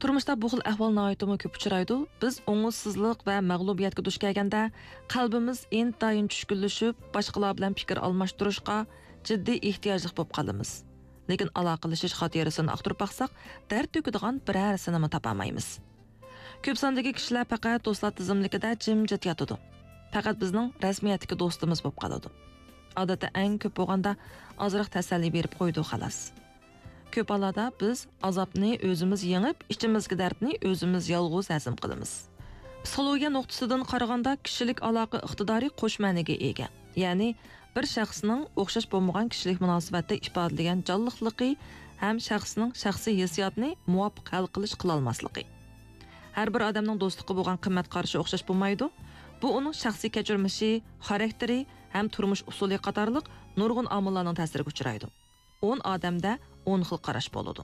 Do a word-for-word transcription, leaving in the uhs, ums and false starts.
تۇرمۇشتا بۇ خىل ئەھۋال ناھايىتىمۇ كۆپ ئۇچرايدۇ. بىز ئوڭۇشسىزلىق ۋە مەغلۇبىيەتكە دۇچ كەلگەندە، قەلبىمىز ئىنتايىن چۈشكۈنلىشىپ، باشقىلار بىلەن پىكىر ئالماشتۇرۇشقا جىددىي ئېھتىياجلىق بولۇپ قالىمىز. لېكىن ئالاقىلىشىش خاتىرىسىنى ئاختۇرۇپ باقساق، دەرد تۆكىدىغان بىرەرسىنىمۇ تاپالمايمىز. كۆپ ساندىكى كىشىلەر پەقەت دوستلار تىزىملىكىدە جىمجىت ياتىدۇ. پەقەت بىزنىڭ رەسمىيەتتىكى دوستىمىز بولۇپ قالىدۇ. ئادەتتە ئەڭ كۆپ بولغاندا ئازراق تەسەللى بېرىپ قويىدۇ، خالاس. كۆپ ھاللاردا بىز ئازابنى ئۆزىمىز يېڭىپ، ئىچىمىزدىكى دەردنى ئۆزىمىز يالغۇز ھەزىم قىلىمىز. پسىخولوگىيە نۇقتىسىدىن قارىغاندا، كىشىلىك ئالاقە ئىقتىدارى قوش مەنىگە ئىگە. يەنى، بىر شەخسنىڭ ئوخشاش بولمىغان كىشىلىك مۇناسىۋەتتە ئىپادىلىگەن جانلىقلىقى ھەم شەخسنىڭ شەخسىي ھېسسىياتىنى مۇۋاپىق ھەل قىلىش قىلالماسلىقى. ھەر بىر ئادەمنىڭ دوستلۇققا بولغان قىممەت قارىشى ئوخشاش بولمايدۇ. بۇ ئۇنىڭ شەخسىي كەچۈرمىشى، خاراكتېرى ھەم تۇرمۇش ئۇسۇلى قاتارلىق نۇرغۇن ئامىللارنىڭ تەسىرىگە ئۇچرايدۇ. ئون ئادەمدە ئون خىل قاراش بولىدۇ.